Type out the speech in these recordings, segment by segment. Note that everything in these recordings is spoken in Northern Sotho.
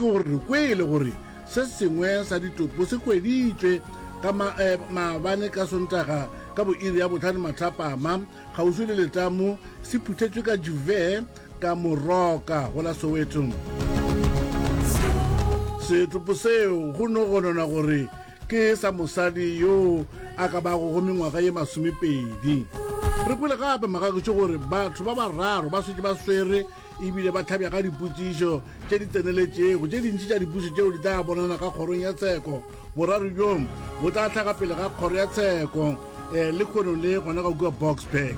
ke gore re kwele gore se sengwe sa ditopo se hweditšwe ka ma, eh, maabane ka Sontaga ka bo iri ya bohlano mathapama kgauswi le letamo se phuthetšwe ka juve ka Moroka go la Soweto. Setopo seo go no gononwa gore ke sa mosadi yo a ka bago go mengwaga ye masomepedi. Re kwele gape magagetšo gore batho ba bararo ba šetše ba swere ebile ba hlabja ka dipotšišo tše di tseneletšego. Tše dintši tša dipušo tšeo di tla bonana ka kgorong ya tsheko. Boraro bjo bo tla hlaga pele ga kgoro ya tsheko eh, lehono le gona ga kua Boksburg.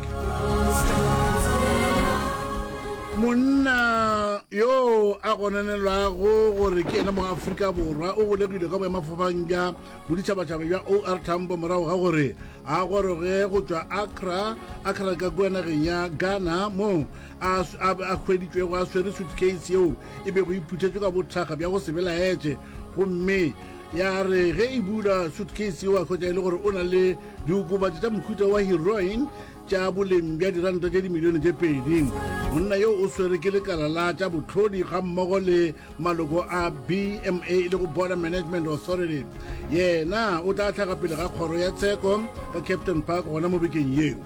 Monna yo a gononelwago gore ke yena mo Afrika Borwa o golegilwe ka boemafofang bja boditšhabatšhaba bja OR Tambo morago ga gore a goroge go tšwa Accra, Accra ka kua nageng ya Ghana moo a, a, a hweditšwego a swere suitcase yeo e bego e phuthetšwe ka bothakga bja go se belaetše gomme ya re ge e bula suitcase yeo a hwetša e le gore o na le diokobatši tša mohuta wa heroin tša boleng bja diranta tše dimilione tše pedi. Monna yo o swere ke lekala la tša bohlodi gammogo le maloko a BMA e lego Border Management Authority. Yena o tla hlaga pele ga kgoro ya tsheko ka Captain Park gona mo bekeng yeo.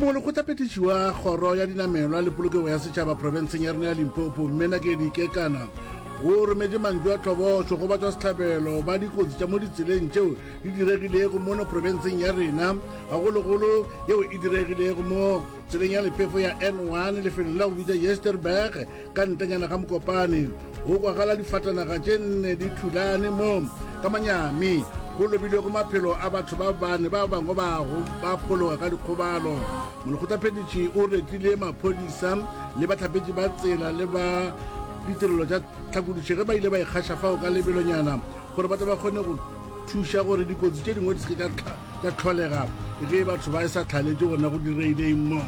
Molekgotlaphethiši wa kgoro ya dinamelwa le polokego ya setšhaba profenseng ya rena ya Limpopo, Mme Nakedi Kekana, o rometše mantšu a tlhobošo go batšwasehlabelo ba dikotsi tša mo ditseleng tšeo di diregilego mono profenseng ya rena, gagologolo yeo e diregilego mo tseleng ya lephefo ya N1 lefelong la go bitša Yesterberg ka ntlenyana ga Mokopane. Go kwagala difatanaga tše nne di thulane mo ka manyami go lobilwego maphelo a batho ba bane, ba bangwe ba ba phologa ka dikgobalo. Molekgotlaphethiši o retile maphodisa le bahlapetši ba tsela le ba ditirelo tša tlhakodišo ge ba ile ba ikgaša fao ka lebelonyana gore ba tle ba kgone go thuša gore dikotsi tše dingwe di se ke tša tlholega ge batho ba e sa tlhaletše gona go direileng mo.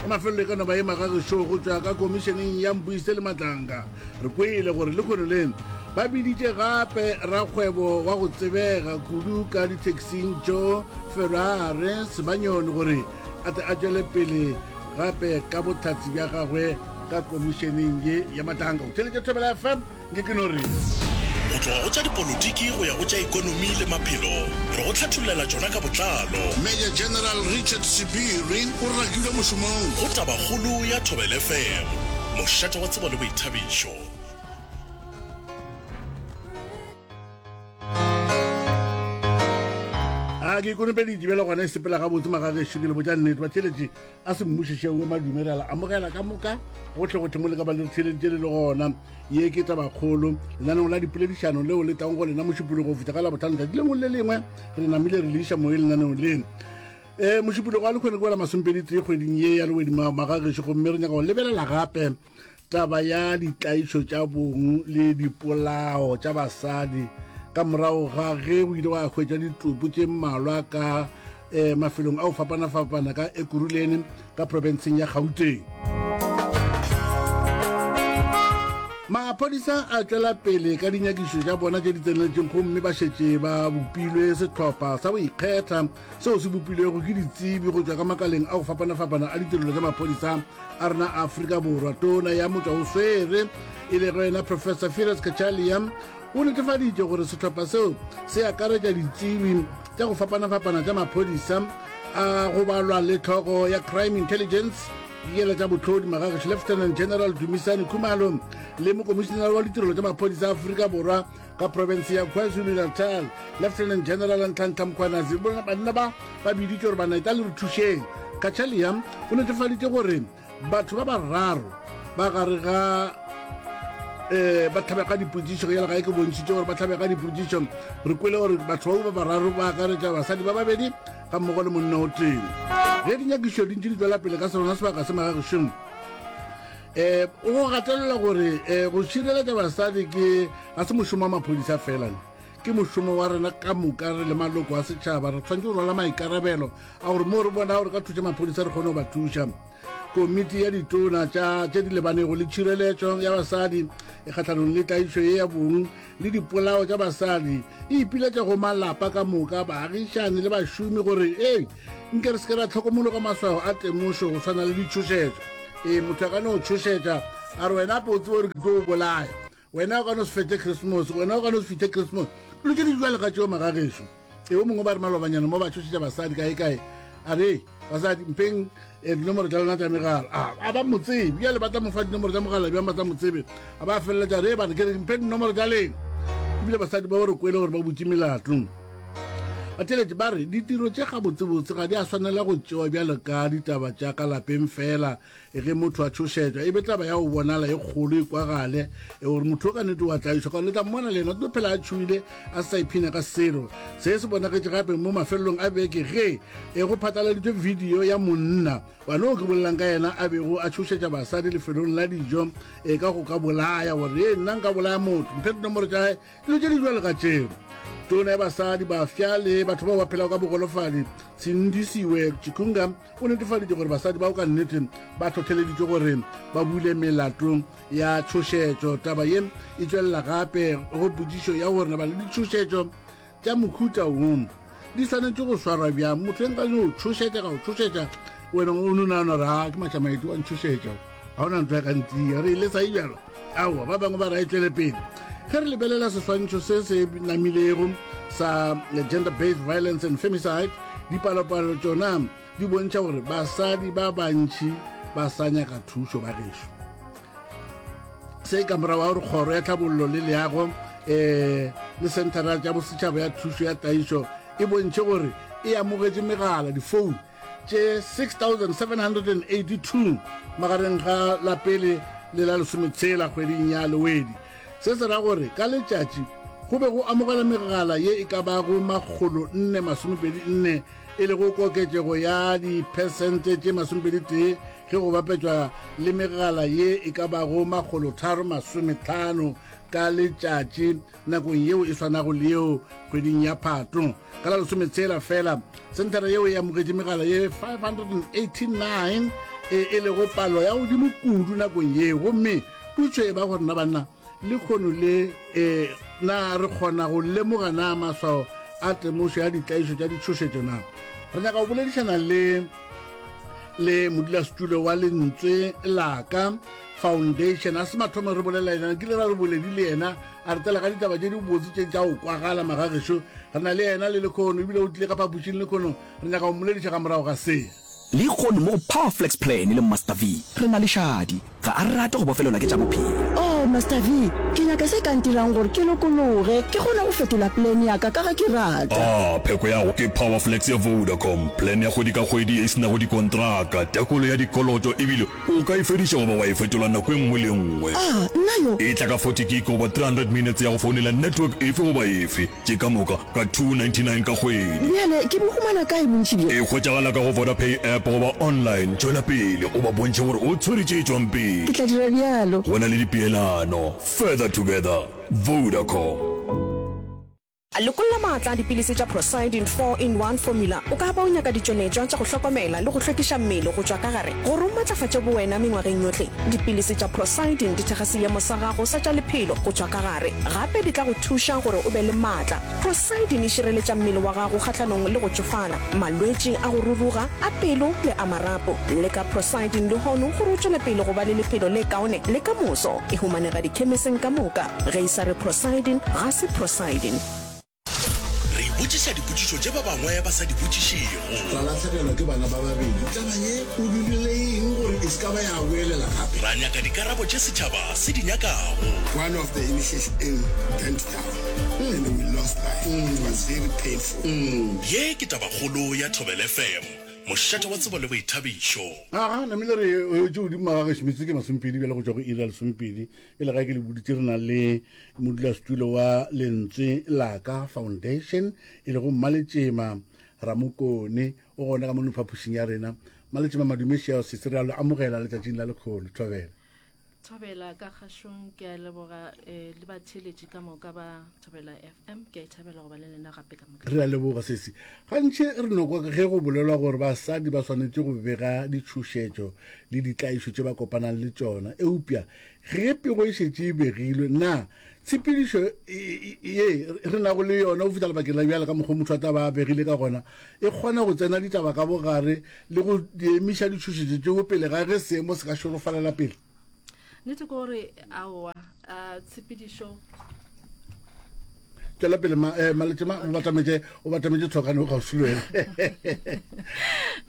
Ka mafelelo e ka no ba e magagešo go tšwa ka komišeneng ya Mpuise le Matlanka. Re kwele gore lehono le ba biditše gape rakgwebo wa go tsebega kudu ka ditaxing Joe Ferrare Sebanyoni gore a tle a tšwele pele gape ka bohlatse bja gagwe ka komišeneng ye ya Matlanka. O theeletše Thobela FM. Nke ke no re. Go tloga go tša dipolotiki go ya go tša ekonomi le maphelo, re go hlathollela tšona ka botlalo. Major General Richard Sebiri o rakilwe mošomong. Go Tabakgolo ya Thobela FM, mošate wa tsebo le boithabišo. A ke ikonopeditše bjale gona e sepela gabotse magagešo ke le botša nnete batheeletši a se mmušišeng madume re a le amogela ka moka gohle gohle mo le ka ba le re theeleditše le le gona ye ke tabakgolo lenaneong la dipoledišano leo le tlang go lena mošupologo go fihla ka labohlano tšatši lengwe le lengwe re namile re le iša moyeng lenaneong le um mošupologo wa lekgone ke wela masomepedi tee kgweding ye ya lewedi magagešo gomme re nyaka go lebelela gape Taba ya ditlaišo tša bong le dipolao tša basadi ka morago ga ge o ile wa hwetša ditopo tše mmalwa ka eh, mafelong a go fapana-fapana ka Ekurhuleni ka profenseng ya Gauteng. Maphodisa a tšwela pele ka dinyakišo tša bona tše di tseneletšeng gomme ba šetše ba bopilwe sehlopha sa go ikgetha seo se bopilwego ke ditsebi go tšwa ka makaleng a go fapana-fapana a ditirelo tša maphodisa a rena a Afrika Borwa. Tona ya motšwa o swere e lego yena Professor Firoz Cachalia o netefaditše gore sehlopha seo se akaretša ditsebi tša go fapana-fapana tša maphodisa a go balwa le tlhogo ya Crime Intelligence dikela tša bohlodi magagešo Lieutenant General Dumisani Khumalo le mokomišenara wa ditirelo tša maphodisa a Afrika Borwa ka profense ya KwaZulu-Natal Lieutenant General Nhlanhla Mkhwanazi. Banna ba ba biditše gore bana eta le re thušeng. Cachalia o netefaditše gore batho ba bararo ba gare ga eh ba tlhabega dipotšišo yela ga e ke bontšhitše gore ba tlhabega dipotšišo re kwele gore batho bao ba bararo ba akaretša basadi ba babedi ga mmogo le monna o tee ge dinyakišo di ntše di tswela pele ka sona sebaka se magagišong um o go gatelela gore um go šireletša basadi ke ga se mošomo wa maphodisa fela ke mošomo wa rena ka moka re le maloko a setšhaba re tshwanetse go rwala maikarabelo a gore moo re bona gore ka thuša maphodisa re kgone go ba thuša komiti ya ditona tša tše di lebanego le tšhireletšo ya basadi e kgahlanong le tlaišo ye ya bong le dipolao tša basadi e ipiletša go malapa ka moka baagišani le bašomi gore ee nke re se ke ra tlhokomologa maswao a temošo go swana le ditšhošetšo ee motho a ka no tšhošetša. A re wena ape o tsebe gore ke tlo o bolaya. Wena o ka no se fetše Christmas, wena o ka no se fihle Christmas. Dilo tše di bjalo ka tšeo magagešo. E o mongwe ba re malobanyana mo ba tšhošetša basadi kae kae. A re, basadi mpheng eh, dinomoro tša lena tša megala. A a ba mo tsebe. Bjale ba tla mo fa dinomoro tša mogala bjang ba tla mo tsebe. A ba feleletša re bana ke re mpheng dinomoro tša lena. Ebile basadi ba re kwele gore ba butše melato. Batheeletši ba re ditiro tše gabotsebotse ga di a swanela go tšewa bjalo ka ditaba tša ka lapeng fela ge motho a tšhošetšwa e be taba ya go bonala e kgolo e kwagale e gore motho o ka nnete wa tlaišwa ka le tla mmona le yena o tlo phela a tšhoile a se sa iphina ka selo. Se se bonagetše gape mo mafelelong a beke ge e go phatlaladitšwe video ya monna wane o ke bolelang ka yena a bego a tšhošetša basadi lefelong la dijo e ka go ka bolaya gore e nna nka bolaya motho mphe dinomoro tša Dilo tše di bjalo ka tšeo. Tona ya basadi, bafsa le batho bao ba phelago ka bogolofadi, Sindisiwe Chikunga, o netefaditše gore basadi bao ka nnete ba hlohleleditšwe gore ba bule melato ya tšhošetšo. Taba ye e tšwelela gape go potšišo ya gore naba le ditšhošetšo tša mohuta wo di swanetše go swarwa bjang. Motho e nka no tšhošetša ka go tšhošetša wena o no nagana gore a ke matšamaedi wa ntšhošetša ga ona ntho ya ka ntia re ile sa e bjalo. Aowa, ba bangwe ba re a e tšwele pele. Ge re lebelela seswantšho se se namilego sa gender based violence and femicide, dipalopalo tšona di bontšha gore basadi ba bantši ba sa nyaka thušo ba gešo. Se ka morago ga gore kgoro ya tlhabollo le leago um le senthara tša bosetšhaba ya thušo ya tlaišo e bontšhe gore e amogetše megala difounu tše 6782 magareng ga la pele le la lesometshela kgweding ya Lewedi. Se se ra gore ka letšatši go be go amogelwa megala ye e ka bago makgolo nne masomepedi nne, e lego koketšego ya diphesente tše masomepedi tee ge go bapetšwa le megala ye e ka bago makgolo tharo masometlhano ka letšatši nakong yeo e swanago le yeo kgweding ya Phato. Ka la lesometshela fela, senthara yeo e amogetše megala ye 589 e, e lego palo ya godimo kudu nakong yeo. Gomme potšo e ba gore na banna lekgono le e, na re kgona go lemoga na maswao a temošo ya ditlaišo tša ditšhošetšo na? Re nyaka go boledišana le le modulasetulo wa Lentswe Laka Foundation. A se mathomo re bolela yena, kile ra re boledi le yena a re tela ka ditaba tše dibotse tše tša go kwagala magagešo. Re na le yena le lekhono ebile o tlile ka phapošing lekhono, re nyaka go mmolediša ka morago ga se. Lehono mo go Powerflex Plan le Master V re na le Shadi. Ga a rate go bofelelwa ke tša bophelo. Oh, Master V, ke nyaka se ka ntirang gore ke lokologe, ke kgone go fetola plan ya ka ka ge ke rata. Ah, pheko ya go ke Powerflex ya Vodacom, plan ya kgwedi ka kgwedi ye e se nago dikontraka, tekolo ya dikoloto ebile O ka e fediša goba wa e fetola nako e nngwe le e nngwe. A, nna yo! E tla ka 40 gig goba 300 minutes ya go founela network efe goba efe, tše ka moka ka 299 ka kgwedi. Bjale ke bo humana kae bontši bjo? E hwetšagala ka go Vodapay app goba online. Tšwela pele o ba bontšhe gore o tshwere tše tšwang pele. Ke tla dira bjalo. Go na le dipeelano. Further together. Vodacom. Lekolla maatla a dipilisi tša Procyldin 4-in-1 Formula. O ka ba o nyaka ditšweletšwa tša go hlokomela le go hlwekiša mmele go tšwa ka gare gore o matlafatše bowena mengwageng yohle. Dipilisi tša Procyldin di thekga seemo sa gago sa tša lephelo go tšwa ka gare. Gape di tla go thuša gore o be le maatla. Procyldin e šireletša mmele wa gago kgahlanong le go tšofala, malwetši a go ruruga, a pelo le a marapo. Leka Procyldin lehono gore o tšwele pele go ba le lephelo le kaone le ka moso. E humanega dikhemiseng ka moka. Ge e sa re Procyldin, ga se Procyldin. Re ipotšiša dipotšišo tše ba bangwe ba sa di botšišego. Ra lahlegelwa ke bana ba babedi. Taba ye o dirile eng gore e se ka ba ya boelela gape? Ra nyaka dikarabo tše setšhaba se di nyakago. One of the initiation burnt down and we lost life. It was very painful. Ye ke tabakgolo ya Thobela FM, mošate wa tsebo le boithabišo. Aga, namile re wetše godimo ga gešo metsotso ke masomepedi bjale go tšwa go iri ya lesomepedi. Pele ga ke le boditše re na le modulasetulo wa Lentswe Laka Foundation e lego Mmaletšema Ramokone o gona ka mono phapošing ya rena. Mmaletšema madume šeo sese re a lo amogela letšatšing la lekgono. Thobela. Thobela ka kgašong ke a leboga eh, le batheeletši ka moka ba Thobela FM ke a ithabela go ba le lena gape ka moka. Re a leboga sesi. Gantši re no kwa ge go bolelwa gore basadi ba swanetše go bega ditšhošetšo le ditlaišo tše ba kopanang le tšona. Eupša ge pego e šetše e begilwe, na tshepedišo ye re nago le yona go fihla lebakeng la bjale ka mokgwa motho a tla ba a begile ka gona e kgona go tsena ditaba ka bogare le go di emiša ditšhošetšo tšeo pele ga ge seemo se ka šorofalela pele? Nnete ke gore aowa a tshepedišo. Tšwela pele ma, eh, Maletšema o batametše o batametše tlhokane o kgauswi le wena.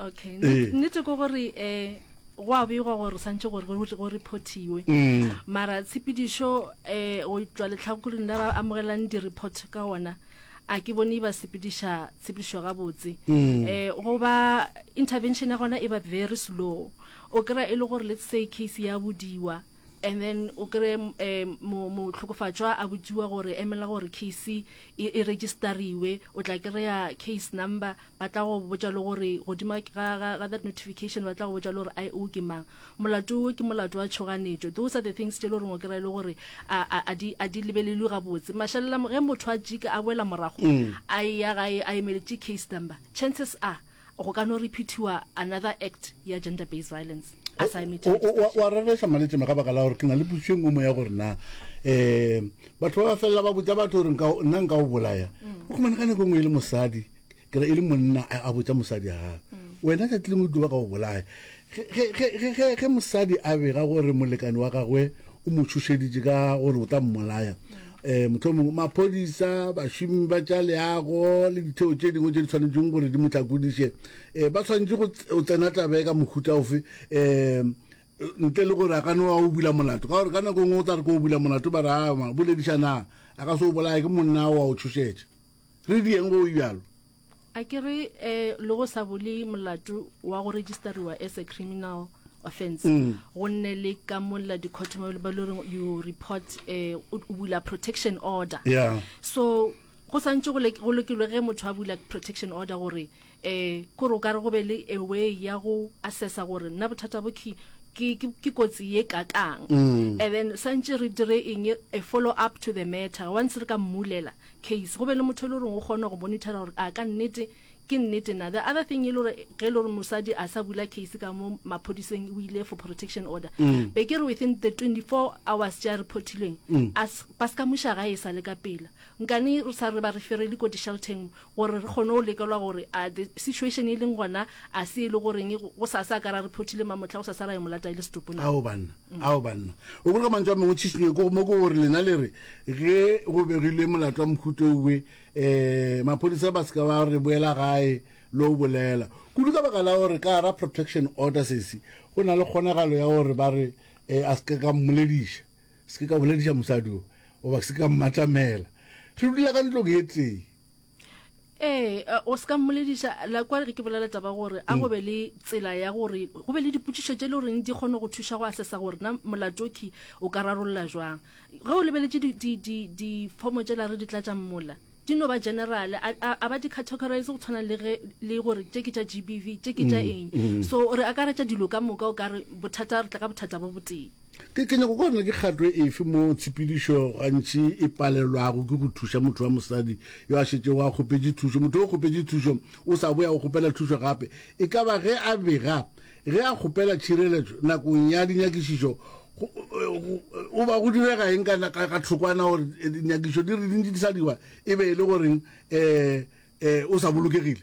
Okay, nnete ke gore eh go a begwa gore santše gore go reportiwe mm. mara tshepedišo eh go tšwa letlhakoreng la ba amogelang di-report ka ona a ke bone ba sepediša tshepedišo gabotse mm. eh go ba intervention ya gona e ba very slow o kry-a e le gore let's say case ya bodiwa and then o kry eh, motlhokofatšwa a botsiwa gore emela gore case e, e registeriwe o tla kry-a case number ba tla go botša le gore godima ga, ga, ga that notification ba tla go botša le gore IO ke mang molato wo ke molato wa tšhoganetšo those are the things tše le goreng o kry-a e le gore a, a, a di, a di lebelelwe gabotse mašalela ge motho a jika a boela morago mm. a eya gae a emeletše case number chances are Go ka no repeatiwa another act ya gender based violence a sa emetse. Wa rereša Maletšema ka baka la gore ke na le potšišo e nngwe mo ya gore na um batho ba ba felela ba botša batho gore nna nka o bolaya mm. o khumane ka nako e nngwe e le mosadi ke re e le monna a botša mosadi ya gagwe mm. wena tšatši lengwe tlo ba ka o bolaya ge mosadi a bega gore molekane wa gagwe o mo tšhošeditše ka gore o tla mmolaya um mohlomongwe maphodisa bašomi ba tša leago le ditheo tše dingwe tše di tshwanetšeng gore di mo hlakodiše um ba tshwanetše go tsena tabe ka mohuta ofe um ntle le gore a ka no a o bula molato ka gore ka nako e nngwe o tla re ko o bula molato ba re a boledišana a ka se o bolaya ke monna o a o tšhošetša re dieng go bjalo A ke re um le go sa bule molato wa go registeriwa as a criminal offense mm. go nne le ka molla di-court mo ba le goreng you report um o bula protection order yeah. so go santse go lekilwe ge motho a bula protection order gore um kore o ka re go be le a way ya go assessa gore nna bothata bo ke ke kotsi ye kakang mm. and then santse re dire eng a follow up to the matter once re ka mmulela case go be le motho e le goreng o kgona go monitora gore a ka nnete ke nnete na the other thing e le gore ge e le gore mosadi a sa bula case ka mo maphodiseng o ile for protection order mm. be ke re within the 24 hours tše a reportilweng mm. ba se ka moša gae e sa le ka pela nkane re sa re ba referele ko di-shelteng gore re kgone go lekelwa gore a the situation e leng gona a se e le goreng go sa sa ka ra reportile mamotlha go sa sa ra e molata e le setopo na ao banna mm. ao banna o boloka mantšu a mangwe tšhišinyo ko mo ko gore lena le re ge go begilwe molato wa mohuto owe um maphodisa ba se ka ba re boela gae le o bolela kudu ka baka la gore ka gara protection order sesi go na le kgonagalo ya gore ba re um a se ka ka mmolediša se ke ka bolediša mosadi o goba se ka mmatamela re dula ka ntlong e tee Ee, o se ka mmolediša la kwa ge ke bolela taba gore a go be le tsela ya gore go be le dipotšišo tše le goreng di kgone go thuša go assessa gore na molato ke o ka rarolla jwang. Ge o lebeletše difomo tšela re di tlatšang mola di no ba general a ba di categorize go tshwana le ge le gore tše ke tša GBV tše ke tša eng. So re akaretša dilo ka moka o ka re bothata re tla ka bothata bo botee. Ke, ke nyaka go bona ke kgato efe mo tshepedišo gantši e palelwago ke go thuša motho wa mosadi yo a šetšego a kgopetše thušo. Motho o kgopetše thušo, o sa boya o kgopela thušo gape. E ka ba ge a bega, ge a kgopela tšhireletšo nakong ya dinyakišišo, go, go, go ba go direga eng ka, ka, ka thokwana gore dinyakišišo di re di ntše di sa dirwa e be e le goreng um um o sa bolokegile?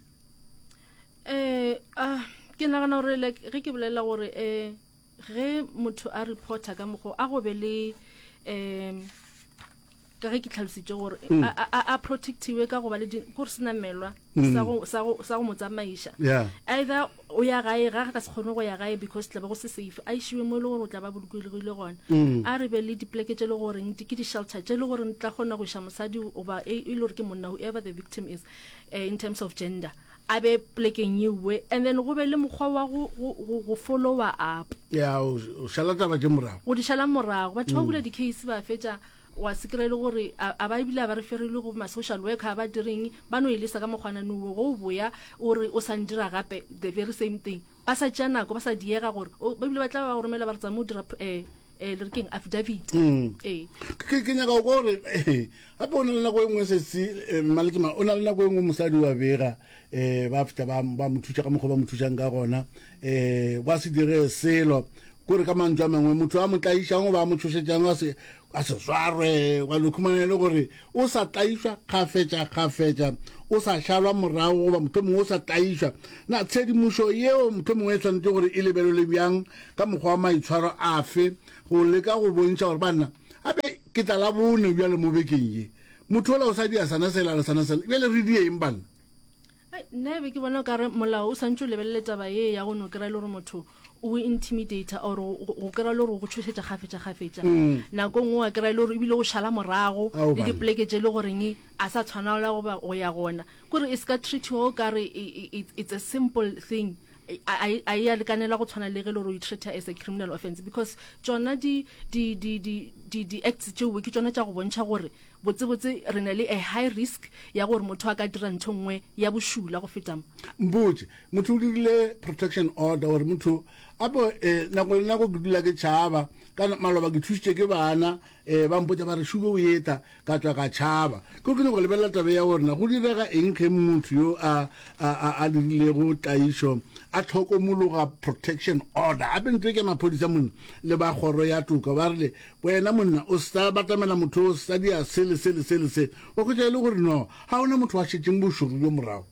Um ah, ke nagana gore like ge ke bolela gore um Ge motho a reporter ka mokgwa a go be le um ka ge ke tlhalositše gore mm. a protectiwe ka go ba le gore senamelwa mm. sa go mo tsamaiša either o ya gae ga ka se kgone go ya gae because tla be go se safe a išiwe mo e le gore o tla ba bolokegile gona mm. a re be le dipleke tše le goreng ke di-shelter tše le goreng tla kgona go iša mosadi goba e, e le gore ke monna whoever the victim is eh, in terms of gender a be plekeng yewe and then go be le mokgwa wa go, go, go, go follower up. Ya, o o šala taba tše morago. Go di šala morago. Batho ba bula di-case ba fetša wa se kry-e le gore a, a ba ebile a ba referelwe go ma-social worker a ba direng ba no e lesa ka mokgwana nowe go o boya o re o sa ndira gape the very same thing ba sa tšea nako ba sa diega gore o- ba ebile ba tla ba go romela ba re tsama o dira eh, eh, le re keng affidavit mm. ee ke ke nyaka go kwa gore gape o na le nako e nngwe sesi eh, mmalekema o na le nako e nngwe mosadi wa bega um ba fihla ba ba mo thuša ka mokgwa ba mo thušang ka gona um ba se dire selo kore ka mantšu a mangwe motho a mo tlaišang goba a mo tšhošetšang a se a se swarwe, wa no khumana e le gore o sa tlaišwa kgafetša-kgafetša, o sa šalwa morago goba mohlomongwe o sa tlaišwa. Na tshedimošo yeo mohlomongwe e swanetše gore e lebelelwe bjang ka mokgwa wa maitshwaro afe go leka go bontšha gore banna gape ke tla la bone bjale mo bekeng ye motho ola o sa dia sana sela le sana sela bjale re die eng banna? Ai, nna e be ke bona o kare molao o santše o lebelele taba ye ya go no kry-a e le gore motho o intimidator or go kry-a e le gore o go tšhošetša kgafetša-kgafetša. Nako nngwe wa kry-a e le gore ebile o šala morago Ao le banna. dipoleke tše e le goreng a sa tshwanela goba go ya gona. Kore e se ka treatiwa o kare it's a simple thing. A a e a lekanela go tshwana le ge e le gore o e treata as a criminal offence because tšona di di di di di di-acts tšeo ke tšona tša go bontšha gore Botsebotse re na le a high risk ya gore motho a ka dira ntho nngwe ya bošula go feta mo. Mpotše, motho o dirile protection order gore motho a bo eh, nako le nako ke dula ke tšhaba ka maloba ke thušitše ke bana eh, ba mpotša ba re šube o eta ka tšwa ka tšhaba ke ke nyako lebelela tabe ya gore na go direga eng ge motho yo a a a, a dirilego tlaišo a tlhokomologa protection order gape ntho e ke maphodisa monna le ba kgoro ya toka ba rile Wena monna, o sa batamela motho o sa dia se le se le se le se, wa hwetša e le gore no, ga go na motho wa šetšeng bošoro bjo morago.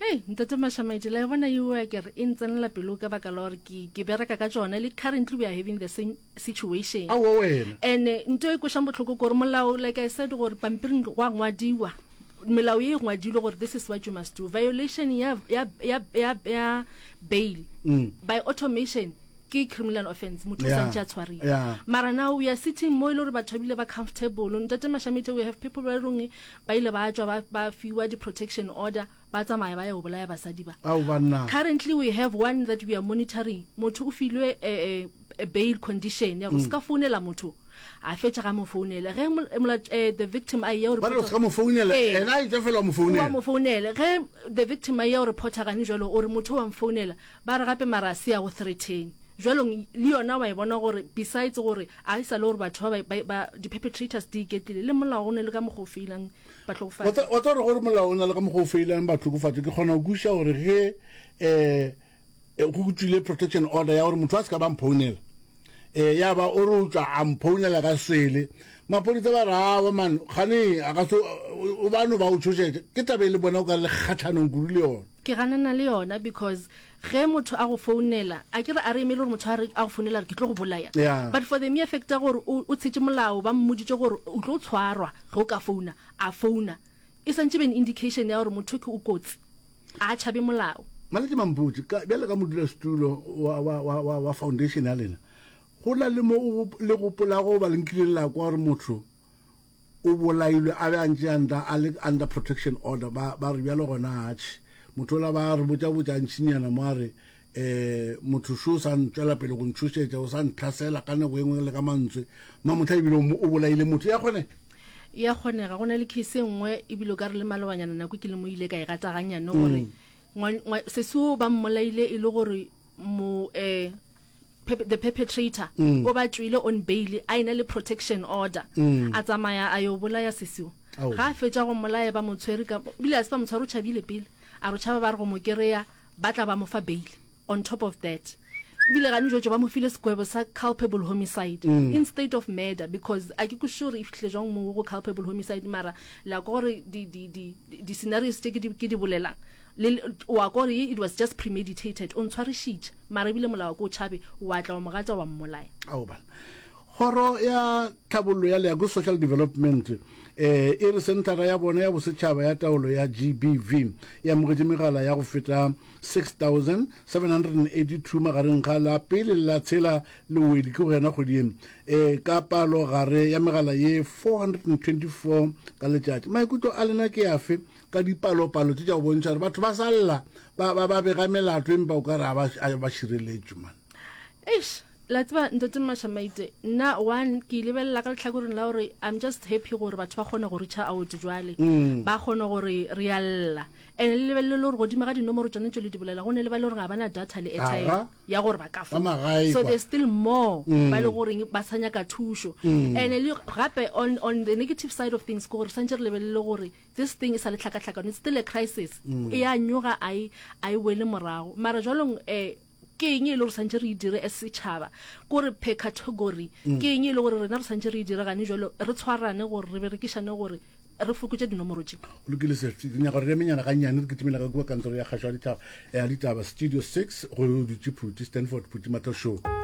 Hei, Ntate Mashamaite, la e bona yeo a kere e ntsenela pelo ka baka la gore ke, ke bereka ka tšona le currently we are having the same situation. Aowa wena. And nto e kwešang bohloko ke gore molao, like I said, gore pampiring gwa ngwadiwa, melao ye e ngwadilwe gore this is what you must do. Violation ya, ya, ya, ya, ya bail by automation ke criminal offense motho o Yeah, santše a tshwariwe yeah. mara now we are sitting mo e le gore batho ba bile ba comfortable ntate mashamite we have people ba e reng ba ile ba tšwa ba, ba fiwa di-protection order ba tsamaya ba ya go bolaya basadi ba Ao banna. currently we have one that we are monitoring motho o filwe eh, eh, bail condition ya go se ka founela motho a fetša ga mo founela ge mol- mola- eh, the victim a eya go Ba re o reporta- se ka mo founela, Ee. ena a etšwa fela wa mo wa founela. mo founela ge the victim a eya go reporta gane jalo o re motho wa mfounela Ba re gape mara a se ya go threaten. Jwalong le yona wa e bona gore besides gore a e sa le gore batho ba ba ba di perpetrators di iketlile le molao o ne le ka mokgwa o feilang bahlokofatsi. Wa tsa gore gore molao o na le ka mokgwa o feilang bahlokofatsi ke kgona go kwešiša gore ge um go tšwile protection order ya gore motho a se ka ba mphounela um ya ba o re o tšwa a mphounela ka swele maphodisa ba re awa man gane a ka se o ba no ba o tšhošetša ke taba e le bona o ka le kgatlhanong kudu le yona. Ke ganana le yona because ge motho a go founela, a ke re a re emele gore motho a re a go founela a re ke tlo go bolaya. Yeah. But for the mere fact ya gore o o tshetše molao ba mmoditše gore o tlo tshwarwa ge o ka founa, a founa. E santše be an indication ya gore motho ke o kotsi. A tšhabe molao. Maletše Mampotše, ka bjale ka modulasetulo wa wa wa wa wa foundation ya lena, go na le mo o le gopolago goba le nkileng la kwa gore motho o bolailwe a be a ntše under a le under protection order ba ba re bjalo gona atšhe motho ola ba re botša botša ntšhinyana mo a re eh motho šo sa ntšwela pele go ntšhošetša o sa ntlhasela ka nako e nngwe le ka mantswe mamotlha ebile o bolaile motho ya kgonega ya kgonega go na le case e nngwe ebile o ka re le malobanyana nako ke le mo ile ka e gata ganyane gore mm. sesi o ba mmolaile e le gore mo eh the perpetrator mm. o ba tšwile on bail a ena le protection order mm. a tsamaya a yo bolaya sesiwa ga a fetša go mmolaya ba mo tshwere ka bile a se ba mo tshware o tšhabile pele a re tšhaba ba re go mo kereya ba tla ba mo fa bail on top of that ebile gane jotso ba mo file sekwebo sa culpable homicide mm. instead of murder because a ke kwešiše gore e fitlhile jwang mo go culpable homicide mara la ko gore di-scenarios tše ke di bolelang Le, wa kwa gore it was just premeditated, o ntshwarišitše, mara ebile molao wa ko o tšhabe, wa tla wa mo gata wa mmolaya. Ao bana. Kgoro ya Tlhabollo ya Leago, Social Development, eh, e re senthara ya bona ya bosetšhaba ya taolo ya GBV e amogetše megala ya go feta 6782 magareng ga la pele le la tshela Lewedi ke go yena kgwedi ye eh, ka palo gare ya megala ye 424 ka letšatši. Maikutlo a lena ke afe ka dipalopalo tše tša go bontšha gore batho ba sa lla ba, ba, ba bega melato empa o ka re a ba šireletšwe man. Eish, la tseba ntate Mashamaite, nna one ke lebelela ka lehlakoreng la gore I'm just happy gore batho ba kgone go reacha out jwale mm. ba kgone gore re a lla and le lebelele le gore godimo ga dinomoro tsone tse le di bolela go ne le ba le gore ga ba na data le airtime ya gore ba ka founa so there's still more mm. ba le goreng ba sa nyaka thušo mm. and le gape on, on the negative side of things ke gore santse re lebelele gore This thing e sa le tlhakatlhakano, it's still a crisis. Mm. E a nyoga a e a e wele morago. Mara jwalong eh. Ke eng e le gore santše re e dire as setšhaba? Kore per category, ke eng e le gore rena re santše re e dire gane jwalo, re tshwarane gore re berekišane gore re fokotše dinomoro tše. Go lokile Sefty, ke nyaka gore re emenyana gannyane re kitimela ka kua kantoro ya kgašo ya ditaba, ya ditaba Studio 6 go dutše Phuti, Stanford Phuti Matoshow.